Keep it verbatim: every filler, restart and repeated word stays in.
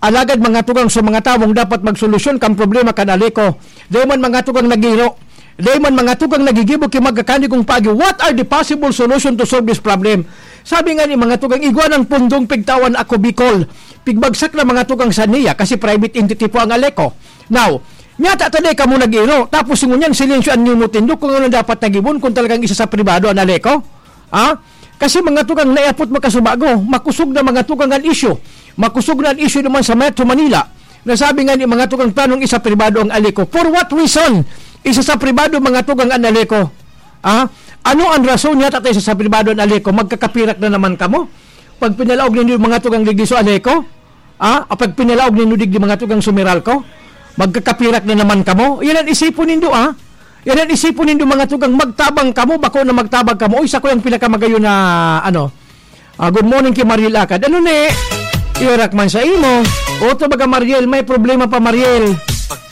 Alagad mga tugang, sa mga tawong dapat magsolusyon kan problema kan Aleco, dai man mga tugang nagiro. Dai man mga tugang nagigibo ki magkakanigong paagi. What are the possible solution to solve this problem? Sabi nga ni mga tugang, igwa ng pundong pigtawan ako Bicol. Pigbagsak na mga tugang sa niya kasi private entity po ang Aleco. Now, nyata ta dai kamo nag-iro. Tapos ngunyan, silensyo an niyo mo tindog kung ano dapat nagibon kung talagang isa sa pribado ang Aleco. Ha? Kasi mga tugang, naiapot makasubago, makusog na mga tugang an isyu. Makusog na an isyu naman sa Metro Manila. Nasabi nga ni mga tugang planong isa pribado ang Aleco. For what reason? Isa sa pribado mga tugang an Aleco. Ha? Ano ang rason niya tatay sa, sa pribado ang Aleco? Magkakapirak na naman kamo? Pag pinalaog ninyo mga tugang digdi sa Aleco? Ah, apag pinalaog nindo digdi mga tugang sumeral ko? Magkakapirak na naman kamo? Yan ang isipon nindo, ah. Yan ang isipon nindo mga tugang magtabang kamo, bako na magtabang kamo. Uy, sa ko yung pinakamagayon na, ano, ah, good morning kay Mariel Akad. Ano ni? Iwarak man sa imo. O to baga Mariel, may problema pa Mariel.